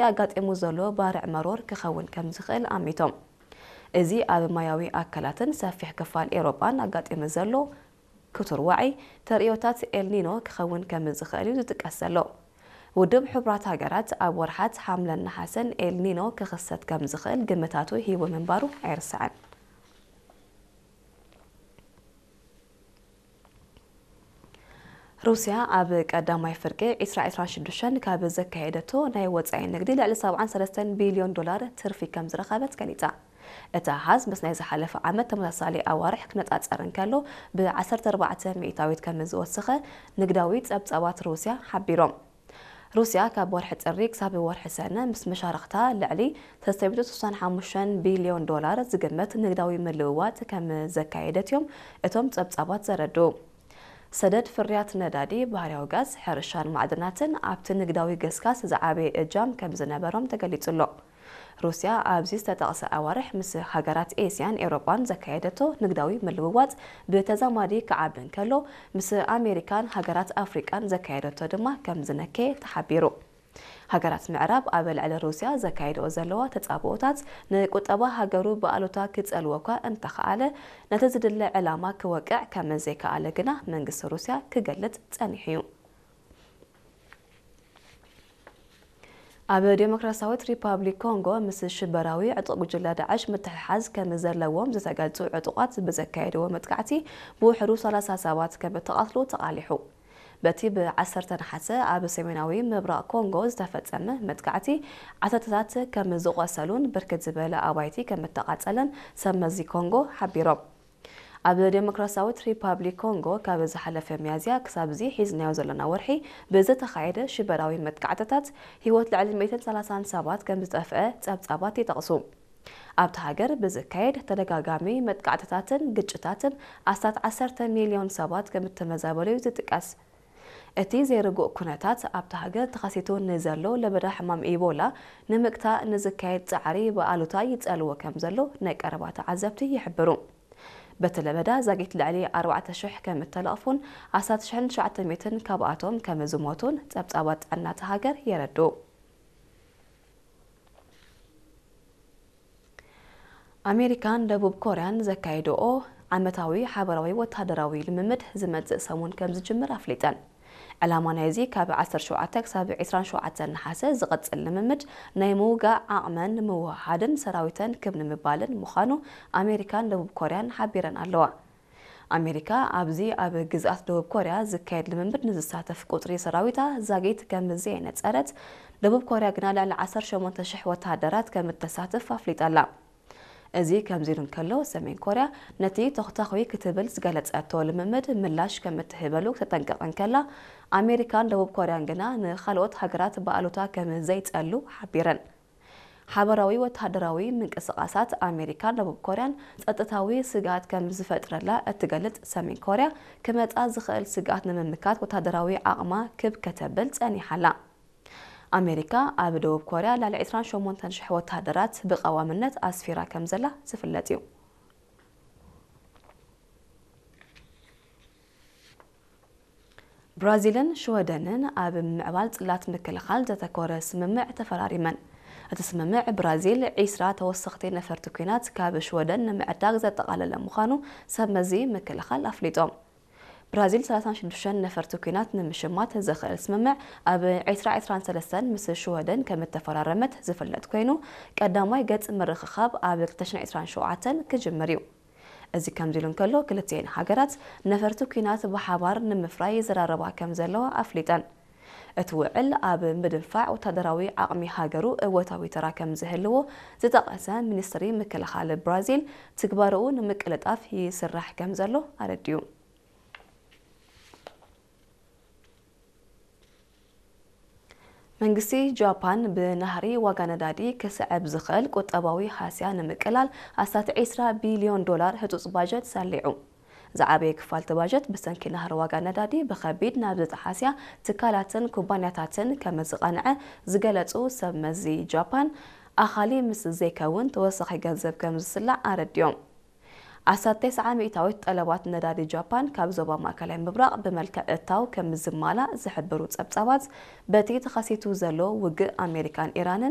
ኣጋጢሙ ዘሎ ባርዕ መሮር ክኸውን ከም ዝኽእል ኣሚቶም። እዚ ኣብ ማያዊ ኣካላትን ሰፊሕ ክፋል ኤውሮጳን ኣጋጢሙ ዘሎ ክቱር ዋዒ ተርእዮታት ኤልኒኖ ክኸውን ከም ዝኽእል እዩ ዝጥቀስ ዘሎ። ውድብ ሕቡራት ሃገራት ኣብ ወርሓት ሓምለን ነሓሰን ኤልኒኖ ክኽሰት ከም ዝኽእል ግምታቱ ሂቡ ምንባሩ ኣይርሳዕን። ሩስያ ኣብ ቀዳማይ ፍርቂ ዕስራ ዕስራን ሽዱሽተን ካብ ዘካየደቶ ናይ ወጻኢ ንግዲ ልዕሊ ሰብዓን ሰለስተን ቢልዮን ዶላር ትርፊ ከም ዝረኸበት ገሊጻ። እቲ ኣሃዝ ምስ ናይ ዝሓለፈ ዓመት ተመሳሳሊ ኣዋርሕ ክነጻጸር እንከሎ ብ ዓሰርተ ኣርባዕተ ሚእታዊት ከም ዝወሰኸ ንግዳዊ ጸብጻባት ሩስያ ሓቢሮም። ሩስያ ካብ ወርሒ ጥሪ ክሳብ ወርሒ ሰነ ምስ መሻርኽታ ልዕሊ ሰለስተ ሚእቲ ስሳን ሓሙሽተን ቢልዮን ዶላር ዝግመት ንግዳዊ ምልውዋጥ ከም ዘካየደት እዮም እቶም ጸብጻባት ዘረድኡ። ሰደድ ፍርያት ነዳዲ፣ ባህርያዊ ጋዝ፣ ሕርሻን ማዕድናትን ኣብቲ ንግዳዊ ገስጋስ ዝዓበየ እጃም ከም ዝነበሮም ተገሊጹ ኣሎ። ሩስያ ኣብዚ ዝተጠቕሰ ኣዋርሕ ምስ ሃገራት ኤስያን ኤውሮጳን ዘካየደቶ ንግዳዊ ምልውዋጥ ብተዛማዲ ክዓቢ እንከሎ፣ ምስ ኣሜሪካን ሃገራት ኣፍሪቃን ዘካየደቶ ድማ ከም ዝነከየ ተሓቢሩ። ሃገራት ምዕራብ ኣብ ልዕሊ ሩስያ ዘካየድኦ ዘለዋ ተጻብኦታት ንቁጠባ ሃገሩ ብኣሉታ ክጸልዎ እኳ እንተኸኣለ፣ ነቲ ዝድለ ዕላማ ክወቅዕ ከም ዘይከኣለ ግና መንግስቲ ሩስያ ክገልጽ ጸኒሑ እዩ። ኣብ ዴሞክራሲያዊት ሪፓብሊክ ኮንጎ ምስ ሽበራዊ ዕጡቕ ጉጅለ ዳዕሽ ምትሕሓዝ ከም ዘለዎም ዝተገልጹ ዕጡቓት ብዘካየድዎ መጥቃዕቲ ብውሕዱ ሰላሳ ሰባት ከም እተቓትሉ ተቓሊሑ። በቲ ብ ዓሰርተ ነሓሰ ኣብ ሰሜናዊ ምብራቕ ኮንጎ ዝተፈጸመ መጥቃዕቲ ዓሰርተታት ከም ዝቖሰሉን ብርክት ዝበለ ኣባይቲ ከም እተቓጸለን ሰብ መዚ ኮንጎ ሓቢሮም። ኣብ ዴሞክራሲያዊት ሪፓብሊክ ኮንጎ ካብ ዝሓለፈ ሚያዝያ ክሳብ እዚ ሒዝናዮ ዘለና ወርሒ ብዝተኻየደ ሽበራዊ መጥቃዕትታት ህይወት ልዕሊ ሚእትን ሰላሳን ሰባት ከም ዝጠፍአ ጸብጻባት ይጠቕሱ። ኣብታ ሃገር ብዝካየድ ተደጋጋሚ መጥቃዕትታትን ግጭታትን ኣስታት ዓሰርተ ሚልዮን ሰባት ከም እተመዛበሉ እዩ ዝጥቀስ። እቲ ዘይርጉእ ኩነታት ኣብታ ሃገር ተኸሲቱ ንዘሎ ለበዳ ሕማም ኢቦላ ንምግታእ ንዝካየድ ጻዕሪ ብኣሉታ ይጸልዎ ከም ዘሎ ናይ ቀረባ ተዓዘብቲ ይሕብሩ። በቲ ለበዳ ዛጊት ልዕሊ ኣርባዕተ ሽሕ ከም እተለቕፉን ኣስታት ሽሕን ትሽዓተ ሚእትን ካብኣቶም ከም ዝሞቱን ጸብጻባት ጥዕና እታ ሃገር የረድኡ። ኣሜሪካን ደቡብ ኮርያን ዘካየድኦ ዓመታዊ ሓበራዊ ወተሃደራዊ ልምምድ ዝመጽእ ሰሙን ከም ዝጅምር ኣፍሊጠን። ዕላማ ናይዚ ካብ ዓሰርተ ሸውዓተ ክሳብ ዕስራን ሸውዓተን ነሓሰ ዝቕጽል ልምምድ ናይ ምውጋእ ዓቕመን ንምውህሃድን ሰራዊተን ክብ ንምባልን ምዃኑ ኣሜሪካን ደቡብ ኮርያን ሓቢረን ኣለዋ። ኣሜሪካ ኣብዚ ኣብ ግዝኣት ደቡብ ኮርያ ዝካየድ ልምምድ ንዝሳተፍ ቁጽሪ ሰራዊታ ዛጊት ከም ዘየነጸረት፣ ደቡብ ኮርያ ግና ልዕሊ ዓሰርተ ሸሞንተ ሽሕ ወተሃደራት ከም እተሳትፍ ኣፍሊጣ ኣላ። እዚ ከምዚ ኢሉ እንከሎ፣ ሰሜን ኮርያ ነቲ ተኹታኹይ ክትብል ዝገለጸቶ ልምምድ ምላሽ ከም እትህበሉ ክተጠንቅቕ እንከላ፣ ኣሜሪካን ደቡብ ኮርያን ግና ንኻልኦት ሃገራት ብኣሉታ ከም ዘይጸሉ ሓቢረን። ሓበራዊ ወተሃደራዊ ምንቅስቓሳት ኣሜሪካን ደቡብ ኮርያን ጸጥታዊ ስግኣት ከም ዝፈጥረላ እትገልጽ ሰሜን ኮርያ፣ ክመጻ ዝኽእል ስግኣት ንምምካት ወተሃደራዊ ዓቕማ ክብ ከተብል ጸኒሓ ኣላ። ኣሜሪካ ኣብ ደቡብ ኮርያ ልዕሊ ዕስራን ሸሞንተን ሽሕ ወተሃደራት ብቐዋምነት ኣስፊራ ከም ዘላ ዝፍለጥ እዩ። ብራዚልን ሽወደንን ኣብ ምምዕባል ጽላት ምክልኻል ዘተኮረ ስምምዕ ተፈራሪመን። እቲ ስምምዕ ብራዚል ዒስራ ተወሰኽቲ ነፈርቲ ኲናት ካብ ሽወደን ንምዕዳግ ዘጠቓለለ ምዃኑ ሰብ መዚ ምክልኻል ኣፍሊጦም። ብራዚል ሰላሳን ሽዱሽተን ነፈርቲ ኲናት ንምሽማት ዘኽእል ስምምዕ ኣብ ዕስራ ዕስራን ሰለስተን ምስ ሽወደን ከም እተፈራረመት ዝፍለጥ ኮይኑ፣ ቀዳማይ ገጽ ምርኽኻብ ኣብ ክልተ ሽሕን ዕስራን ሸውዓተን ክጅምር እዩ። እዚ ከምዚ ኢሉ እንከሎ፣ ክልቲኤን ሃገራት ነፈርቲ ኲናት ብሓባር ንምፍራይ ይዘራረባ ከም ዘለዋ ኣፍሊጠን። እቲ ውዕል ኣብ ምድንፋዕ ወታደራዊ ዓቕሚ ሃገሩ እወታዊ ተራ ከም ዝህልዎ ዝጠቐሰ ሚኒስትሪ ምክልኻል ብራዚል፣ ትግባረኡ ንምቅልጣፍ ይስራሕ ከም ዘሎ ኣረዲኡ። መንግስቲ ጃፓን ብናህሪ ዋጋ ነዳዲ ክስዕብ ዝኽእል ቁጠባዊ ሃስያ ንምቅላል ኣስታት ዕስራ ቢልዮን ዶላር ህጹጽ ባጀት ሰሊዑ። ዝዓበየ ክፋል እቲ ባጀት ብሰንኪ ናህሪ ዋጋ ነዳዲ ብኸቢድ ናብ ዝጠሓስያ ትካላትን ኩባንያታትን ከም ዝቐንዐ ዝገለጹ ሰብ መዚ ጃፓን፣ ኣኻሊ ምስ ዘይከውን ተወሳኺ ገንዘብ ከም ዝስላዕ ኣረዲኦም። ዓሰርተ ተስዓ ሚእታዊት ጠለባት ነዳዲ ጃፓን ካብ ዞባ ማእከላይ ምብራቕ ብመልክዕ እታው ከም ዝማላእ ዝሕብሩ ጸብጻባት፣ በቲ ተኸሲቱ ዘሎ ውግእ ኣሜሪካን ኢራንን